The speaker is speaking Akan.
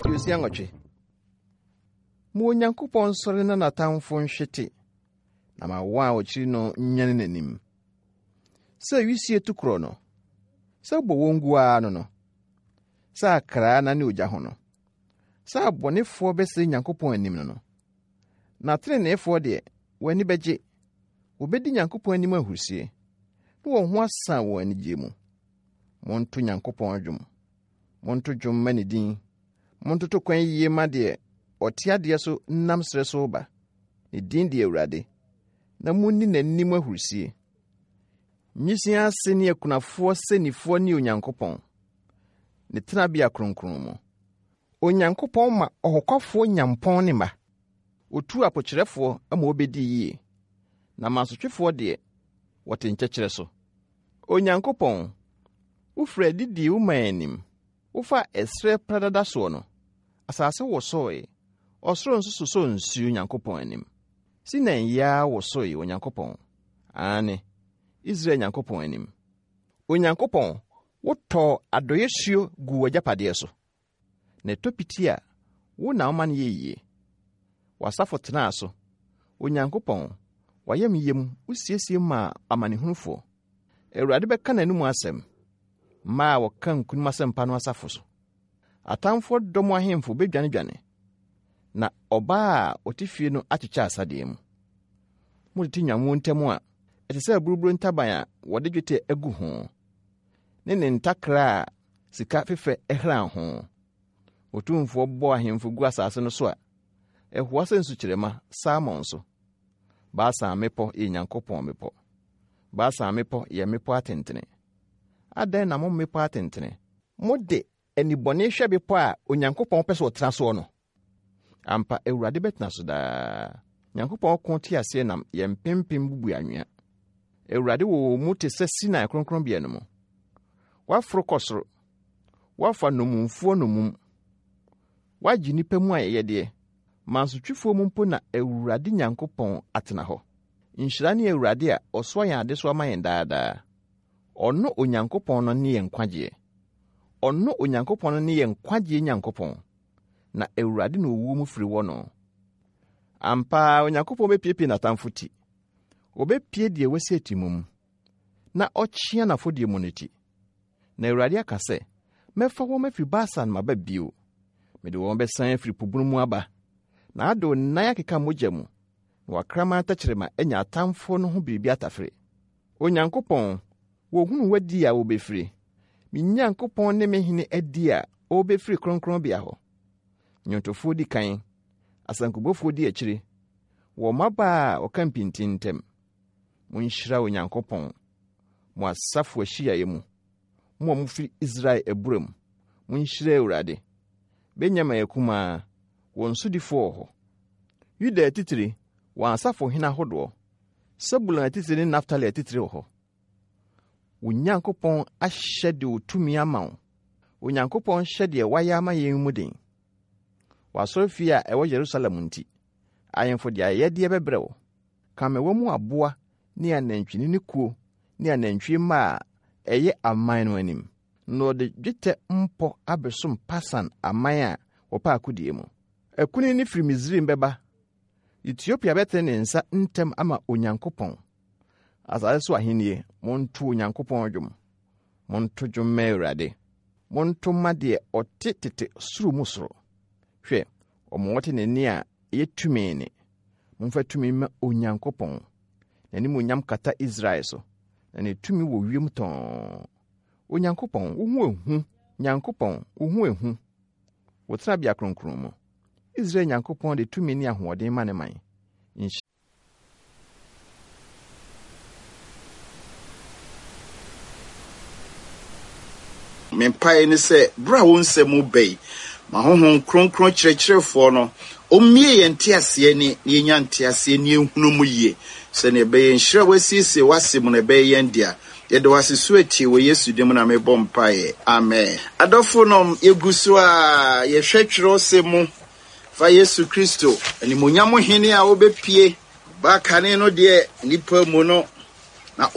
68. Ma Onyankopɔn nsɔre na n'atamfo nhwete, na ma wɔn a wɔkyiri no nnwane n'anim. Sɛ wisie tu korɔ no, sɛ wobɔ wɔn gu ara no no, sɛ akraa nane ogya ho no, sɛ abɔnefoɔ bɛsɛe Nyankopɔn anim no no. Na teneneefoɔ deɛ, wɔn ani bɛgye, wɔbɛdi Nyankopɔn anim ahurusie, na wɔn ho asan wɔn anigyeɛ mu. Monto Nyankopɔn dwom, monto dwom mma ne din, montoto kwan yie ma deɛ ɔte adeɛ so nam serɛ so reba. Ne din de Awurade, na monni n'anim ahurusie. Nwisiaa ase ne akunafoɔ sɛnnifoɔ ne Onyankopɔn, ne tenabea kronkron mu. Onyankopɔn ma ɔhokwafoɔ nya mpɔn ne mma. Ɔtu apokyerɛfoɔ ma wɔbɛdi yie, na mansotwefoɔ deɛ, wɔte nkyɛkyerɛ so. Onyankopɔn, wofiri adi dii wo man anim, wofaa ɛserɛ pradada soɔ no, asase wosoe, ɔsoro nso sosɔɔ nsuo Nyankopɔn anim. Sinai yaa wosoe Onyankopɔn, aane, Israel Nyankopɔn anim. Onyankopɔn, wotɔɔ adɔeɛ suo guu w'agyapadeɛ so. Na ɛtɔ piti a, wo na woma no yɛ yie. W'asafo tenaa so. Onyankopɔn, w'ayamyɛ mu, wosiesie maa amanehunufoɔ. Awurade bɛka n'anomu asɛm, mmaa a wɔka nkonim asɛmpa no asafo so. Atamfoɔ dɔm ahemfo bɛdwanedwane, na ɔbaa a ɔte fie no akyekyɛ asadeɛ mu. Motete nnwammuo ntam a, ɛte sɛ aburuburo ntaban a wɔde dwetɛ agu ho, ne ne ntakra a sika fefɛ hran ho. Otumfoɔ bɔ ahemfo gu asase no so a, ɛhoa sɛ nsukyerɛma Salmon so. Basan mmepɔ yɛ Nyankopɔn mmepɔ. Basan mmepɔ yɛ mmepɔ atentene. Adɛn na mo mmepɔ atentene, mode anibɔne hwɛ bepɔ a Onyankopɔn pɛ sɛ ɔtena soɔ no? Ampa, Awurade bɛtena so daa. Nyankopɔn ko teaseɛnam yɛ mpempem bubu anwea. Awurade wɔ wɔn mu te sɛ Sinai kronkronbea no mu. Woaforo kɔ soro. Woafa nnommumfoɔ nnommum. Woagye nnipa mu ayɛyɛdeɛ. Mansotwefoɔ mu mpo na Awurade Nyankopɔn atena hɔ. Nhyira ne Awurade a ɔsoa yɛn adesoa ma yɛn daa daa. Ɔno Onyankopɔn no ne yɛn nkwagyeɛ. Ɔno Onyankopɔn no ne yɛn nkwagyeɛ Nyankopɔn. Na Awurade na owuo mu firi wɔ no. Ampa ara Onyankopɔn bɛpiepie n'atamfo ti. Ɔbɛpie deɛ wasi atimum na ɔkyea n'afɔdie mu no ti. Na Awurade aka sɛ, Mɛfa wɔn afiri Basan maba bio. Mede wɔn bɛsan afiri po bunu mu aba, na ade wo nan akeka mogya mu, na w'akraman tɛkyerɛma anya atamfoɔ no ho biribi atafere. Onyankopɔn, wɔhunu w'adi a wɔbɛfiri, me Nyankopɔn ne me Hene adi a ɔrebɛfiri kronkronbea hɔ. Nnwontofoɔ di kan, asankubɔfoɔ di akyire, wɔ mmabaa a wɔka mpintin ntam. Monhyira Onyankopɔn, mo asafo ahyiaeɛ mu, mo a mofiri Israel abura mu, monhyira Awurade. Benyamin akumaa, wɔn sodifoɔ wɔ hɔ. Yuda atitire, wɔn asafohene ahodoɔ, Sebulon atitire ne Naftali atitire wɔ hɔ. Wo Nyankopɔn ahyɛ de otumi ama wo. Onyankopɔn hyɛ deɛ wayɛ ama yɛn mu den. W'asɔrefie a ɛwɔ Yerusalem nti, ahemfo de ayɛyɛdeɛ bɛbrɛ wo. Kamewa mu aboa ne anantwinini kuo ne anantwie mma a ɛyɛ aman no anim. Na ɔde dwetɛ mpɔ abɛsom Pasan aman a wɔpɛ akodie mu. Akunini firi Misraim bɛba. Etiopia bɛtene ne nsa ntɛm ama Onyankopɔn. Asase so ahennie, monto Onyankopɔn dwom. Monto dwom mma Awurade. Monto mma deɛ ɔte tete soro mu soro. Hwɛ, wɔn wɔte ne nne a ɛyɛ tumi nne. Momfa tumi mma Onyankopɔn. N'animuonyam kata Israel so, na ne tumi wɔ wiem tɔnn. Onyankopɔn, wo ho ehu, Nyankopɔn, wo ho ehu. Wo tenabea kronkron mu. Israel Nyankopɔn de tumi ne ahoɔden ma ne man. Nhyira. Me mpaeɛ ne sɛ berɛ a wo nsɛm reba yi, ma Honhom Kronkron Kyerɛkyerɛfoɔ no ɔmmue yɛn nteaseɛ ani na yɛnya nteaseɛ ne yɛnhunu mu yie, sɛdeɛ ɛbɛyɛ nhyira a woasiesie w'asɛm mu no ɛbɛyɛ yɛn dea. Yɛda wo ase so atie, wɔ Yesu din mu na mebɔ mpaeɛ. Amen. Adɔfonom, yɛgu so a yɛhwɛ twerɛsɛm mu fa Yesu Kristo, animuonyam Hene a ɔbɛpue ba kane no deɛ nnipa mu no.